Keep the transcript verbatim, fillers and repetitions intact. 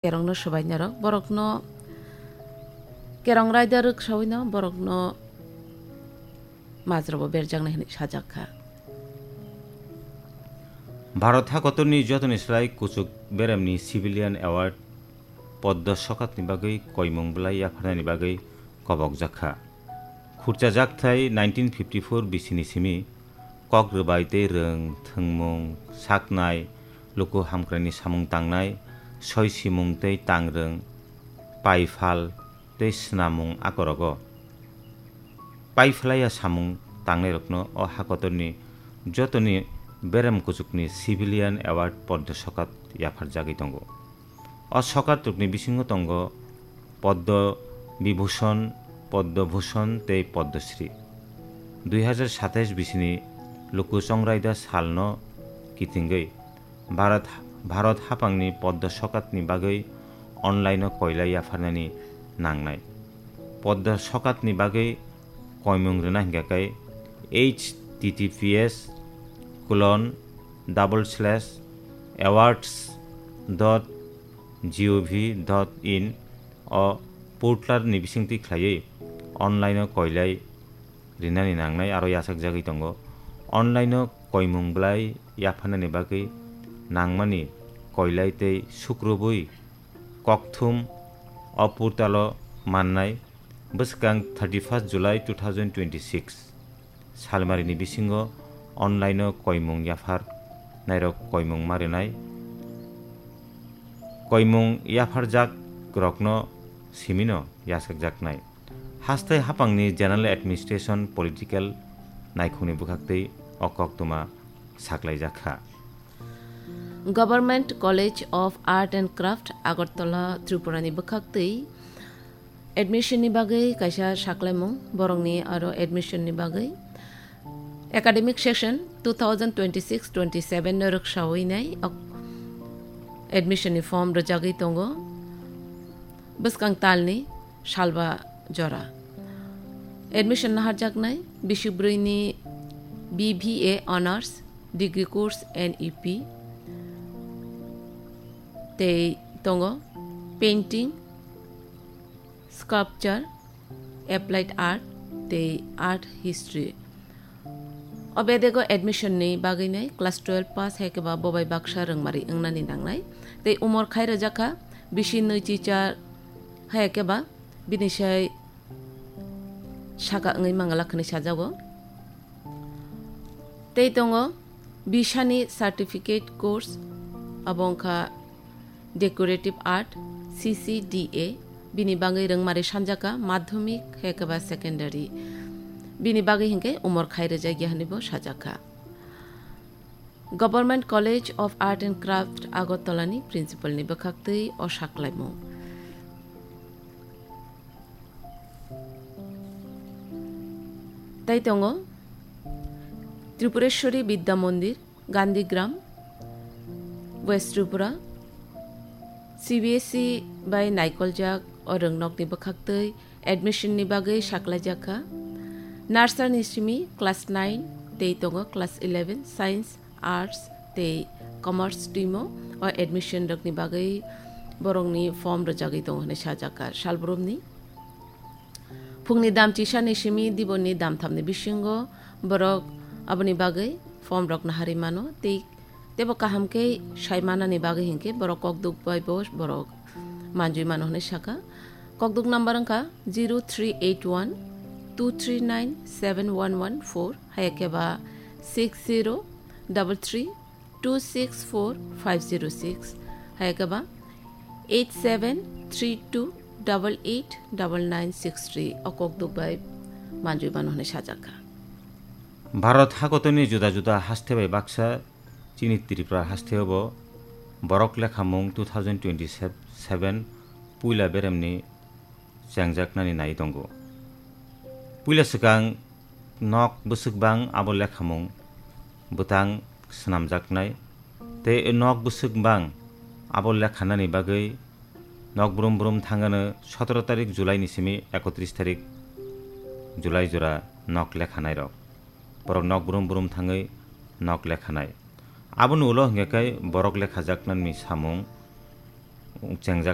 Kerongno swbainarok borokno kerong raida rwksawino borokno majrobo berjaknai hwnwi sajak kha. Bharat hakotorni jotoni slai kuchuk beremni Civilian Award Poddo Sokatni bagwi koimung bwlai yapharnani bagwi kobokjak kha. Khurchajak thai nineteen fifty-four bisini simi kok rwbai tei rwng, thwngmung, saknai, luku hamkraini samung tangnai, soisimung tei tangrwng, paiphal tei snamung akorogo. Paiphlaiya samung tangnairokno o hakotorni jotoni berem kuchukni Civilian Award Poddo Sokat yapharjagwi tongo. O sokat rokni bisingo tongo Poddo Bibhushon, Poddo Bhushon tei Poddo Shri. Dui hazar satais bisini luku chongraida salno kitingwi Bharat, Bharat hapangni Poddo sokatni bagwi online-o koilai yapharnani nangnai. Poddo sokatni bagwi koimung rwna hingkha khe H T T P S colon double slash awards dot gov dot in o portal ni bisingtwi khlaiwi online o koilai rinani nangnai aro yachakjagwi tongo. Online o koimung bwlai yapharnani bagwi nangmani koilai tei sukrubwi kokthum o portal o mannai bwskang thirty-first July two thousand twenty-six. Salmarini bisingo online-o koimung yaphar nairok koimung ma rwnai. Koimung yapharjak rokno simino yachakjaknai. Hastai hapangni General Administration Political naikhungni bwkhaktwi o koktwma saklaijak kha. Government College of Art and Craft Agartala Tripurani bwkhaktwi admission ni bagwi kaisa saklaimung borokni aro admission ni bagwi academic session two thousand twenty-six twenty-seven no rwksawi nai ok-, admission ni form rwjagwi tongo bwskang talni salba jora. Admission naharjaknai bisi bwrwini B B A Honours Degree Course N E P tei tongo Painting, Sculpture, Applied Art tei Art History. O bedego admission ni bagwi nai class twelve pass hai khe ba bobai baksa rwngmari wngnani nangnai tei umor khai rwjak kha bisi nwi chichar hai khe ba bini sai saka wngwi mangala hwnwi sajago. Tei tongo bisani certificate course, abo wngkha Decorative Art, C C D A, bini bagwi rwngmari sanjaka madhyamik hai khe ba secondary. Bini bagwi hinkhe umor khai rwjakya hwnwi bo sajakha. Government College of Art and Craft Agartala ni principal ni bwkhaktwi o saklaimung. Tai tongo Tripureshwari Vidya Mandir, Gandhigram, West Tripura. C B S E bai naikoljak o rwngnokni bwkhaktwi admission ni bagwi saklaijak kha. Nursery ni simi class nine tei tongo class eleven science, arts tei commerce team o admission rokni bagwi borokni form rwjagwi tongo hwnwi sajak kha salbrumni. Phungni dam chisani simi diboni dam thamni bisingo borok aboni bagwi form rok naharwi mano tei tebo kaham khe sai manani bagwi hinkhe borok kokduk bai bo borok manjui mano hwnwi sakha. Kokduk number wngkha zero three eight one two three nine seven one one four, hai khe ba six zero double three two six four five zero six, hai khe ba eight seven three two double eight double nine six three. O kokduk bai manjui mano hwnwi sajak kha. Bharat hakotorni juda juda haste bai baksa chini Tripura hasteo bo borok lekhamung two thousand twenty-seven puila beremni chengjaknani nai tongo. Puila swkang nok bwswk bang abo lekhamung bwtang swnamjaknai, tei nok bwswk bang abo lekhanani bagwi nok brum brum thangano sotoro tarik July ni simi ekotris tarik July jora nok lekhanairok. Borok nok brum brum thangwi nok lekhanai. Aboni ulo hwnkhe khe borok lekhajaknani samung chengjak